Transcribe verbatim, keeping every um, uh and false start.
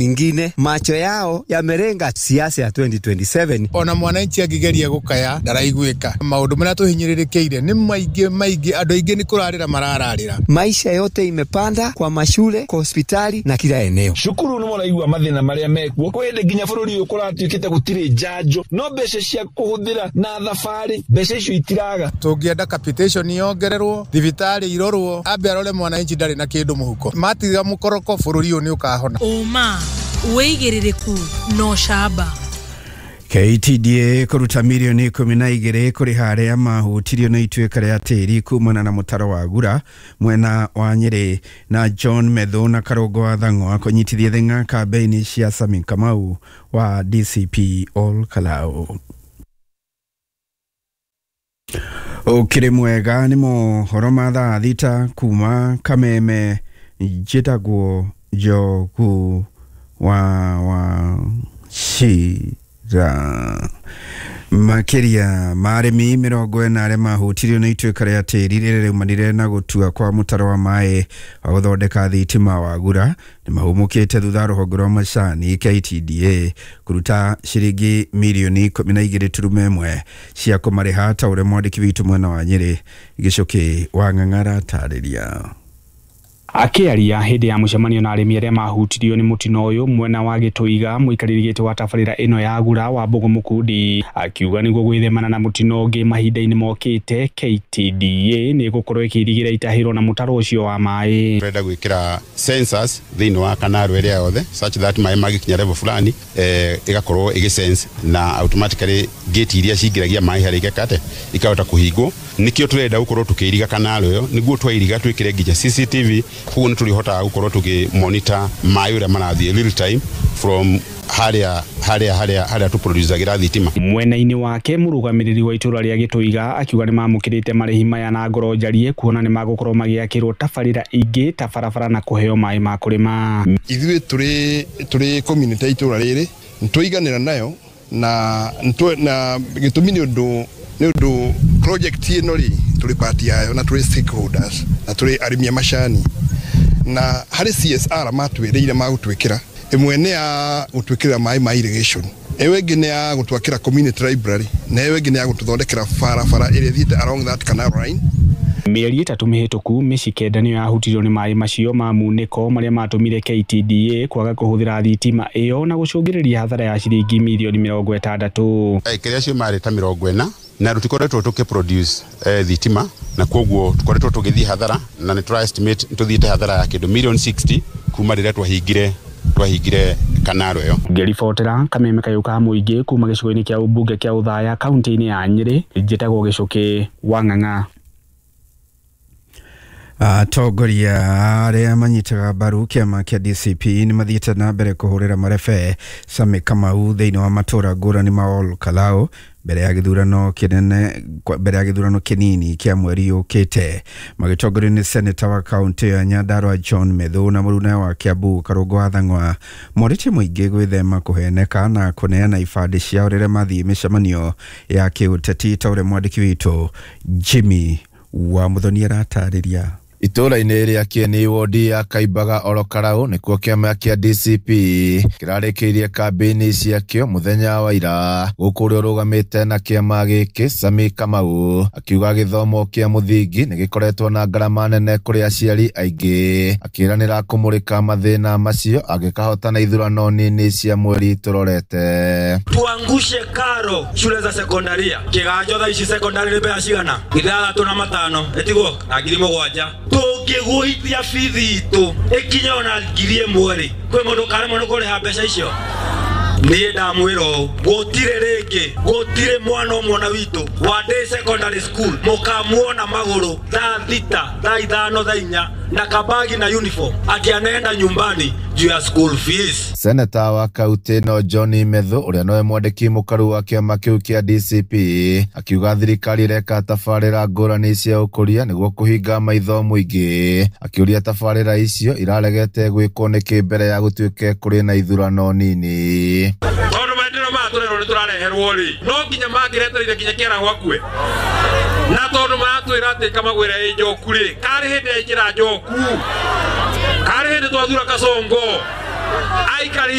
Ingine macho yao yamerenga siasa ya twenty twenty-seven. Ona mwananchi akigeria gukaya ndaraiguika. Maundu maria tuhinyiririkiire ni maingi maingi, andu aingi ni kurarira marararira. Maisha yote imepanda kwa mashule, kwa hospitali na kila eneo. Shukuru ni muraigua mathina maria mekuo kwende nginya bururi uyu kuratuikite gutiri njanjo no mbeca cia kuhuthira na thabari mbeca icio itiraga. Tungienda capitation yongererwo, thibitari irorwo, ambe arore mwananchi ndari na kindu muhuko. Matiga mukoroko bururi uyu ni ukahona. Uma wĩigĩrĩrĩku no camba. K T D A kũruta mirioni ikũmi na igĩrĩ kũrĩha arĩa mahutirio nĩ ituĩka rĩa tĩri kumana na mũtaro wa Gura mwena wa Nyĩrĩ na John Methu na Karũngo wa Thang'wa kũnyitithia thing'a kambĩini cia Sami Kamau wa D C P Ol Kalou. Ũkĩrĩ mwega nĩ mohoro ma thaa thita kuma Kameme. Njĩtagwo Njogu wa wa Shira. Makĩria ma arĩmi mĩrongo ĩna arĩa mahutirio nĩ ituĩka rĩa tĩri rĩrĩa rĩaumanire na gũtua kwa mũtaro wa maĩ wa gũthondeka thitima wa Gura nĩ mahũmũkĩte thutha rũhonge rwa macani K T D A kũruta ciringi mirioni ikũmi na igĩrĩ turuma ĩmwe cia kũmarĩha ta ũrĩa mwandĩki witũ mwena wa Nyĩrĩ Gĩcũkĩ wa Ng'ang'ara atarĩria. Akĩaria hĩndĩ ya mũcemanio na arĩmi arĩa mahutirio nĩ mũtino ũyũ mwena wa Gĩtũiga, mũikarĩri gĩtĩ wa tabarĩra ĩno ya Gura wa Mbũgũ Mũkundi akiuga nĩguo gwĩthemana na mũtino ũngĩ mahinda-inĩ mokĩte, K T D A nĩ ĩgũkorwo ĩkĩirigĩra itahĩro na mũtaro ũcio wa maĩ. Tũrenda gwĩkĩra sensors thĩinĩ wa kanarũ ĩrĩa yothe such that maĩ magĩkinya level fulani eh, ĩgakorwo ĩgĩ sense na automatically gate iria cingĩragia maĩ harĩa ikakate ikahota kũhingwo. Nĩkĩo tũrenda gũkorwo tũkĩiriga kanarũ ĩyo nĩguo twairiga twĩkĩre nginya C C T V koguo nĩ tũrĩhotaga gũkorwo tũkĩ monitor maĩ ũrĩa marathiĩ real time from harĩa harĩa harĩa harĩa tũproducagĩra thitima. Mwena-inĩ wake mũrũgamĩrĩri wa itũra rĩa Gĩtũiga akiuga nĩ mamũkĩrĩte marĩhi maya na ngoro njarie kuona nĩ magũkorwo magĩakĩrwo tabarĩra ingĩ ta barabara na kũheo maĩ ma kũrĩma. Ithuĩ tũrĩ tũrĩ community itũra rĩrĩ nĩtwaiganĩra nayo na na gĩtũmi nĩ ũndũ nĩ ũndũ project ĩno rĩ tũrĩ part yayo na tũrĩ stakeholders na tũrĩ arĩmi a macani na harĩ C S R matwĩrĩire magũtwĩkĩra ĩmwe nĩ ya gũtwĩkĩra maĩ ma irrigation, ĩyo ĩngĩ nĩ ya gũtwakĩra community library na ĩyo ĩngĩ nĩ ya gũtũthondekera barabara ĩrĩa ĩthiĩte along that canal line. Mĩeri ĩtatũ mĩhĩtũku mĩciĩ kenda nĩyo yahutirio nĩ maĩ macio ma munĩko marĩa matũmire K T D A kwaga kũhũthĩra thitima ĩyo na gũcũngĩrĩria hathara ya ciringi mirioni mĩrongo ĩtandatũ. Aikari acio marĩ ta mĩrongo ĩna na tũtikoretwo tũkĩ produce eh, thitima na koguo tũkoretwo tũgĩthiĩ hathara na nĩ tũra estimate tũthiĩte hathara ya kĩndũ million sixty kuma rĩrĩa twahingire twahingire kanaro ĩyo. Ngĩribotera Kameme kayũ ka mũingĩ kuma gĩcigo-inĩ kĩa ũmbunge kĩa Othaya kaunti-inĩ ya Nyĩrĩ, njĩtagwo Gĩcũkĩ wa Ng'ang'a. Atongoria arĩa manyitaga mbaru kĩama kĩa D C P nĩ mathiĩte na mbere kũhũrĩra marebe Sami Kamau thĩinĩ wa matũra ngũrani ma Ol Kalou mbere ya gĩthurano kĩnene mbere ya gĩthurano kĩnini kĩa mweri ũkĩte. Magĩtongorio nĩ seneta wa kaunti ya Nyandarua John Methu na mũruna wa Kiambu Karũngo wa Thang'wa morĩtie mũingĩ gwĩthema kũheneka na kũneana ibandĩ ciao rĩrĩa mathiĩ mĩcemanio ya kĩũteti ta ũrĩa mwandĩki witũ Jimmy wa Muthoni aratarĩria. Itũra-inĩ rĩa Kĩeni wodi ya Kaimbaga Ol Kalou nĩkuo kĩama kĩa D C P kĩrarĩkĩirie kambĩini ciakĩo mũthenya wa ira. Gũkũ ũrĩa ũrũgamĩte na kĩama gĩkĩ Sami Kamau akiuga gĩthomo kĩa mũthingi nĩ gĩkoretwo na ngarama nene kũrĩ aciari aingĩ, akĩranĩra kũmũrĩka mathĩna macio angĩkahotana ithurano nini cia mweri tũrorete. Tuangushe karo shule za sekondaria kĩganjo thaa ici sekondari nĩ mbeca cigana ithathatũ na matano ĩtigwo na ngiri mũgwanja tũngĩgũithia bithi itũ ĩkinye ona ngiri ĩmwe rĩ kwĩ mũndũ ũkaremwo nĩ kũrĩha mbeca icio. Niĩ ndamwĩra ũũ gũtirĩ rĩngĩ gũtirĩ mwana ũmwe ona witũ wa day secondary school mũkamuona magũrũ thaa thita thaa ithano thaa inya na kabagi na uniform ati anaenda nyumbani juu ya school fees. Seneta wa kaunti no John Methu ũrĩa nowe mwandĩki mũkaru wa kĩama kĩu kĩa D C P akiuga thirikari ĩreka tabarĩra ngũrani cia ũkũria nĩguo kũhinga maitho mũingĩ, akĩũria tabarĩra icio iraregete gwĩkwo nĩkĩ mbere ya gũtuĩke kũrĩ na ithurano nini. Tondũ maendeleo maya tũrerwo nĩ tũrareherwo rĩ no nginya mangĩretereire nginya kĩaraho akue na tondũ maratwĩra atĩ kamagwĩra ĩ njoku rĩ karĩ hĩndĩ yaingĩra njoku karĩ hĩndĩ twathura Kasongo Aikari.